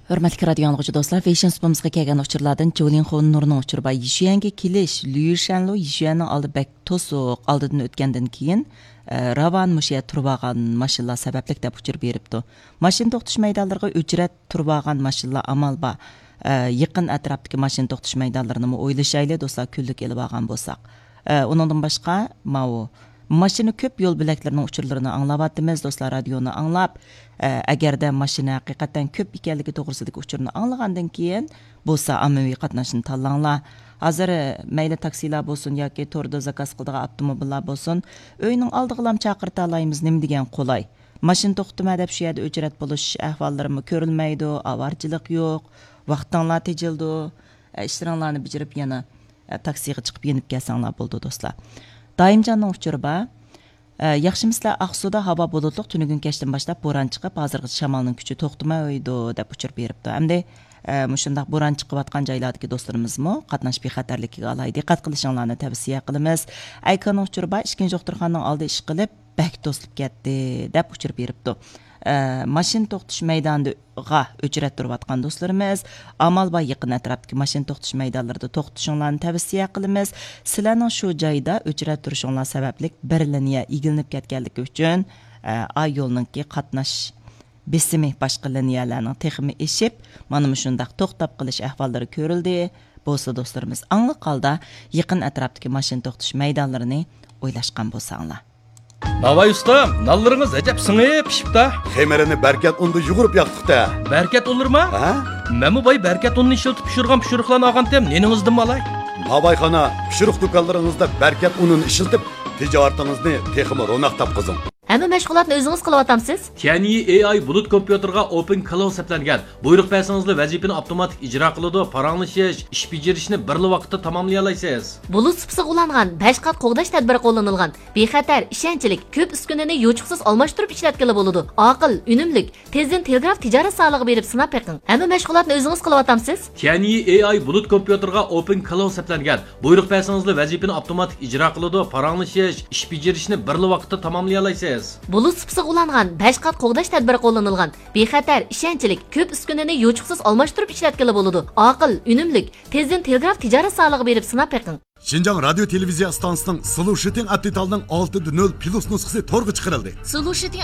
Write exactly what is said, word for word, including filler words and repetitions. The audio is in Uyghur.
ھۆرمەتلىك رادىيو ئاڭلىغۇچى دوستلار، فېشن سۇپىمىزغا كەلگەن ئۇچۇرلاردىن جۇلىن خۇن نۇرنىڭ ئۇچۇرى بار. يىشۈەنگە كېلىش، ليۇشەنلۇ يىشۈەننىڭ ئالدى بەك توسۇق، ئالدىدىن ئۆتكەندىن كېيىن، ئە، راۋان مۇشۇ يەردە تۇرۇۋالغان ماشىنىلار سەۋەبلىك دەپ ئۇچۇر بېرىپتۇ. ماشىنا توختىتىش مەيدانلىرىغا ئۆچرەت تۇرۇۋالغان ماشىنىلار ئامال بار. ئە، يېقىن ئەتراپتىكى ماشىنا توختىتىش مەيدانلىرىنىمۇ ئويلىشايلى، دوستلار، كۈنلۈك ئېلىۋالغان بولساق. ئە، ئۇنىڭدىن باشقا، ماۋۇ ماشىنا كۆپ يول بۆلەكلىرىنىڭ ئۇچۇرلىرىنى ئاڭلاۋاتىمىز، دوستلار، رادىيونى ئاڭلاپ، ئە، ئەگەردە ماشىنا ھەقىقەتەن كۆپ ئىكەنلىكى توغرىسىدىكى ئۇچۇرنى ئاڭلىغاندىن كېيىن بولسا ئاممىۋى قاتناشنى تاللاڭلار. ھازىر، ئە، مەيلى تاكسىلار بولسۇن ياكى توردا زاكاز قىلىدىغان ئاپتوموبىللار بولسۇن، ئۆينىڭ ئالدىغىلام چاقىرتالايمىز، نېمە دېگەن قولاي. ماشىنا توختىتىمەن دەپ شۇ يەردە ئۆچرەت بولۇش ئەھۋاللىرىمۇ كۆرۈلمەيدۇ، ئاۋارىچىلىق يوق، ۋاقتىڭلار تېجىلىدۇ. ئە، ئىشلىرىڭلارنى بېجىرىپ يەنە، ئە، تاكسىغا چىقىپ يېنىپ كەلسەڭلار بولىدۇ، دوستلار. دائىمجاننىڭ ئۇچۇرى بار. ئە، ياخشىمۇسىلەر، ئاقسۇدا ھاۋا بۇلۇتلۇق، تۈنۈگۈن كەچتىن باشلاپ بوران چىقىپ، ھازىرغىچە شامالنىڭ كۈچى توختىمايدۇ، دەپ ئۇچۇر بېرىپتۇ. ئەمدى، ئە، مۇشۇنداق بوران چىقىۋاتقان جايلاردىكى دوستلىرىمىزمۇ قاتناش بىخەتەرلىكىگە ئالاھىدە دىققەت قىلىشىڭلارنى تەۋسىيە قىلىمىز. ئەيكاننىڭ ئۇچۇرى بار، ئىككىنچى دوختۇرخانىنىڭ ئالدى ئىشقىلىپ، بەك توسۇلۇپ كەتتى، دەپ ئۇچۇر بېرىپتۇ. ئە، ماشىنا توختىتىش مەيدانىغا ئۆچرەت تۇرۇۋاتقان دوستلىرىمىز، ئامال بار يېقىن ئەتراپتىكى ماشىنا توختىتىش مەيدانلىرىدا توختىتىشىڭلارنى تەۋسىيە قىلىمىز. سىلەرنىڭ شۇ جايدا ئۆچرەت تۇرۇشۇڭلار سەۋەبلىك بىر لىنىيە ئىگىلىنىپ كەتكەنلىكى ئۈچۈن، ئە، ئا يولنىڭكى قاتناش بېسىمى باشقا لىنىيەلەرنىڭ تېخىمۇ ئېشىپ، مانا مۇشۇنداق توختاپ قېلىش ئەھۋاللىرى كۆرۈلدى. بولسا دوستلىرىمىز ئاڭلىق ھالدا يېقىن ئەتراپتىكى ماشىنا توختىتىش مەيدانلىرىنى ئويلاشقان بولساڭلار. ناۋاي ئۇستام، نانلىرىڭىز ئەجەب سىڭىپ پىشىپتا. خېمىرىنى بەركەت ئۇندا يۇغۇرۇپ ياقتۇقتا. بەركەت ئۇنلىرىما؟ ھە؟ مەنمۇ باي بەركەت ئۇنىنى ئىشلىتىپ پىشۇرغان پىشۇرۇقلارنى ئالغانتىم، نېنىڭىزدىنمۇ ئالاي؟ ناۋايخانا، پىشۇرۇق دۇكانلىرىڭىزدا بەركەت ئۇنىنى ئىشلىتىپ، تىجارىتىڭىزنى تېخىمۇ روناق تاپقۇزۇڭ. ھەممە مەشغۇلاتنى ئۆزىڭىز قىلىۋاتامسىز؟ تيەنيى ئېي ئاي بۇلۇت كومپيۇتېرغا ئوپېن كلاود سەپلەنگەن. بۇيرۇق بەرسىڭىزلا ۋەزىپىنى ئاپتوماتىك ئىجرا قىلىدۇ، پاراڭلىشىش، ئىش بېجىرىشنى بىرلا ۋاقىتتا تاماملىيالايسىز. بۇلۇت سۇپىسىغا ئۇلانغان، بەش قات قوغداش تەدبىرى قوللىنىلغان، بىخەتەر، ئىشەنچلىك، كۆپ ئۈسكۈنىنى يوچۇقسىز ئالماشتۇرۇپ ئىشلەتكىلى بولىدۇ. ئاقىل، ئۈنۈملۈك، تېزدىن تېلېگراف تىجارەت زالىغا بېرىپ سىناپ بېقىڭ. ھەممە مەشغۇلاتنى ئۆزىڭىز قىلىۋاتامسىز؟ تيەنيى ئېي ئاي بۇلۇت كومپيۇتېرغا ئوپېن كلاود سەپلەنگەن. بۇيرۇق بەرسىڭىزلا ۋەزىپىنى ئاپتوماتىك ئىجرا قىلىدۇ، پاراڭلىشىش، ئىش بېجىرىشنى بىرلا ۋاقىتتا تاماملىيالايسىز. بۇلۇت سۇپىسىغا ئۇلانغان، بەش قات قوغداش تەدبىرى قوللىنىلغان، بىخەتەر، ئىشەنچلىك، كۆپ ئۈسكۈنىنى يوچۇقسىز ئالماشتۇرۇپ ئىشلەتكىلى بولىدۇ. ئاقىل، ئۈنۈملۈك، تېزدىن تېلېگراف تىجارەت زالىغا بېرىپ سىناپ بېقىڭ. شىنجاڭ رادىيو تېلېۋىزىيە ئىستانسىسىنىڭ سلۇشىتىڭ ئەپ دېتالىنىڭ ئالتە نۆل پلۇس نۇسخىسى تورغا چىقىرىلدى. سلۇشىتىڭ